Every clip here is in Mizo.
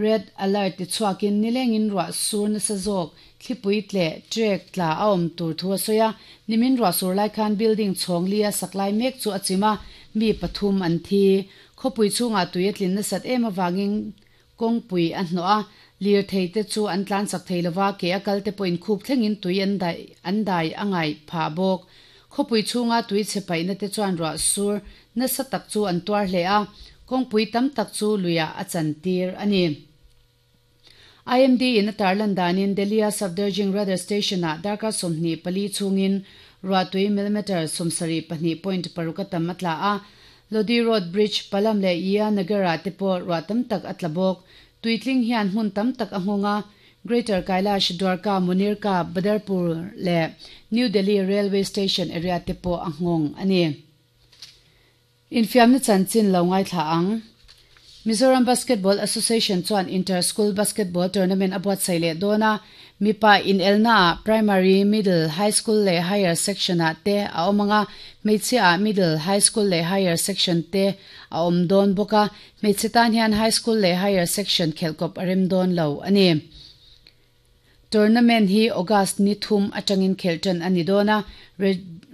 Red alert ti chhuakin nilengin ruah sur nasa zawk thlipui tleh trek tla a awm tur thu a sawi a. Nimin ruah sur lai khan building chhawng lia sak lai mek chu a chim a, mi pathum an thi. Khawpui chhungah tui a tlin nasat em avangin kawngpui a hnawh a, lirthei te chu an tlan chak thei lova, ke a kal te pawhin khup thlengin tui an daih an dai a ngaih phah bawk. Khawpui chhunga tui chhe paihna te chuan ruah sur nasa tak chu an tuar hle a, kawngpui tam tak chu luiah a chantir a ni. IMD in a tarlan danin Delhi-a Safdarjung Radar Station-ah darkar 24 chhungin ruahtui millimetre 72.6 a tam a tla a, Lodi Road Bridge, Palam leh Yia Nagar-ah te pawh ruah tam tak a tla bawk. Tuitling hian hmun tam tak a nghawng a, Greater Kailash, Dwarka, Munirka, Badarpur leh New Delhi Railway Station area te pawh a nghawng a ni. Infiamna chanchin lo ngaithla ang. Mizoram Basketball Association chuan Inter School Basketball Tournament a buatsaih leh dawn a, mipa inelnaah Primary, Middle, High School leh Higher Section-ah te a awm ang a, hmeichhiaah Middle, High School leh Higher Section te a awm dawn bawk a, hmeichhe tan hian High School leh Higher Section khelhkawp a rem dawn lo a ni. Tournament hi August ni thum atangin khelh tan a ni dawn a,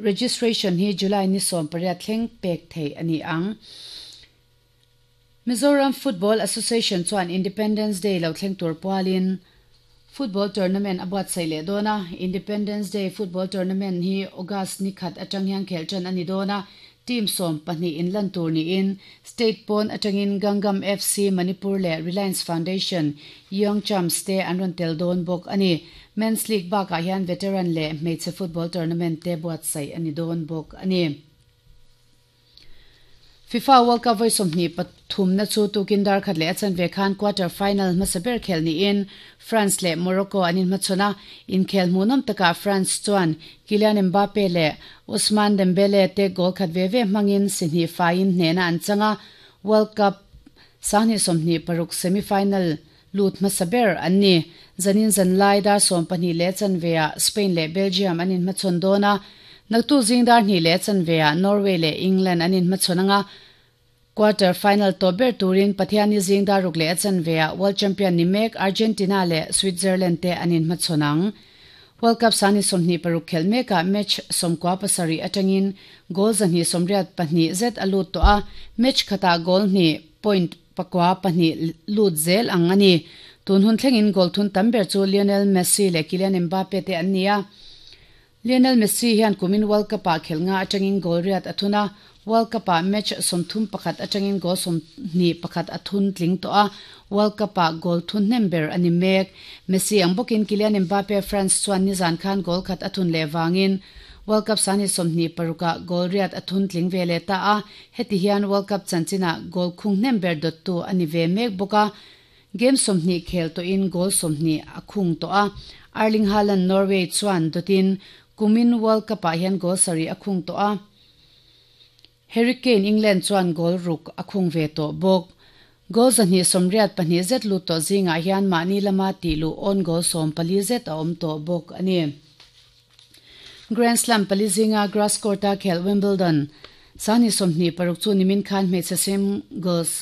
registration hi July ni 18 thleng pek theih a ni ang. Mizoram Football Association chuan Independence Day lo thleng tur pualin Football Tournament a buatsaih leh dawn a, Independence Day Football Tournament hi August ni khat atang hian khelh tan a ni dawn a, team 12 in lan tur niin State pawn atangin Gangam FC Manipur leh Reliance Foundation Young Champs te an rawn tel dawn bawk a ni. Men's League bakah hian Veteran leh hmeichhe football tournament te buatsaih a ni dawn bawk a ni. FIFA World Cup vawi 23 na chu tukin dar khat leh a chanve khan quarter final hmasa ber khel niin France leh Morocco an inhmachhawn a, inkhel hmuhnawm takah France chuan Kylian Mbappe leh Ousmane Dembele te goal khat ve ve hmangin si hnih faiin hnehna an chang a, World Cup 2026 semi-final lut hmasa ber an ni. Zanin zanlai dar 12 leh chanveah Spain leh Belgium an inhmachhawn dawn a, naktu zing dar 2 leh chanveah Norway leh England an inhmachhawn anga, quarter final tawp ber turin Pathianni zing dar 6 leh a chanveah World Champion ni mek Argentina leh Switzerland te an inhmachhawn ang. World Cup 26 khelh mekah match 97 atangin goal 182 zet a lut tawh a, match khatah goal hnih point pakua pahnih lut zel ang a ni. Tun hun thlengin goal thun tam ber chu Lionel Messi leh Kylian Mbappe te an ni a. Lionel Messi hian kumin World Cup-ah khelh nga atangin goal riat a thun a, World Cup-ah match 31 atangin goal 21 a thun tling tawh a, World Cup-ah goal thun hnem ber a ni mek. Messi ang bawkin Kylian Mbappe France chuan nizan khan goal khat a thun leh vangin World Cup 26-ah goal riat a thun tling ve leh ta a, heti hian World Cup chanchinah goal khung hnem ber dawttu a ni ve mek bawk a, game 20 khel tawhin goal 20 a khung tawh a, Erling Haaland Norway chuan dawtin kumin World Cup-ah hian goal sarih a khung tawh a, Harry Kane England chuan goal ruk a khung ve tawh bawk. Goal 182 zet lut tawh zingah hian mahni lama tih luh own goal 14 zet a awm tawh bawk a ni. Grand Slam pali zinga grass court-a khelh Wimbledon 2026 chu nimin khan hmeichhe singles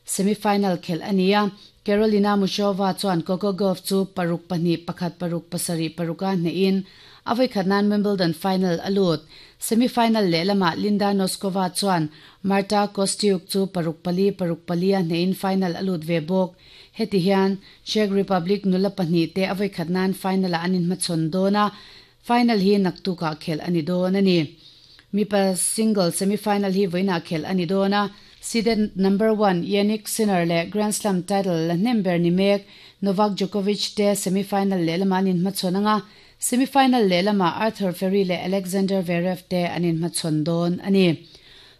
semi-final khelh a ni a, Karolina Muchova chuan Coco Gauff chu paruk pahnih pakhat paruk pasarih paruka hnehin a vawi khat nan Wimbledon final a lut. Semi-final lehlamah Linda Noskova chuan Marta Kostyuk chu paruk pali paruk pali a hnehin final a lut ve bawk. Heti hian Czech Republic nula pahnih te a vawi khat nan final-ah an inhmachhawn dawn a, final hi naktukah khelh a ni dawn a ni. Mipa single semi-final hi vawiinah khelh a ni dawn a, seeded number one Jannik Sinner leh Grand Slam title la hnem ber ni mek Novak Djokovic te semi-final lehlamah an inhmachhawn ang a, semi-final lehlamah Arthur Fery leh Alexander Zverev te an inhmachhawn dawn a ni.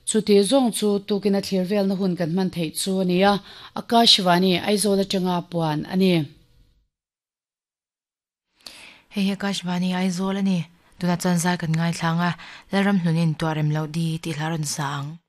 Chuti zawng chu tukin a thlir velna hun kan hman theih chu a ni a, Akashvani, Aizawl atanga puan a ni. Hei hi Akashvani Aizawl a ni. Tunah chuan zai kan ngaithlang a, Lalram hnunin tuah rem loh di tih hla rawn sa ang.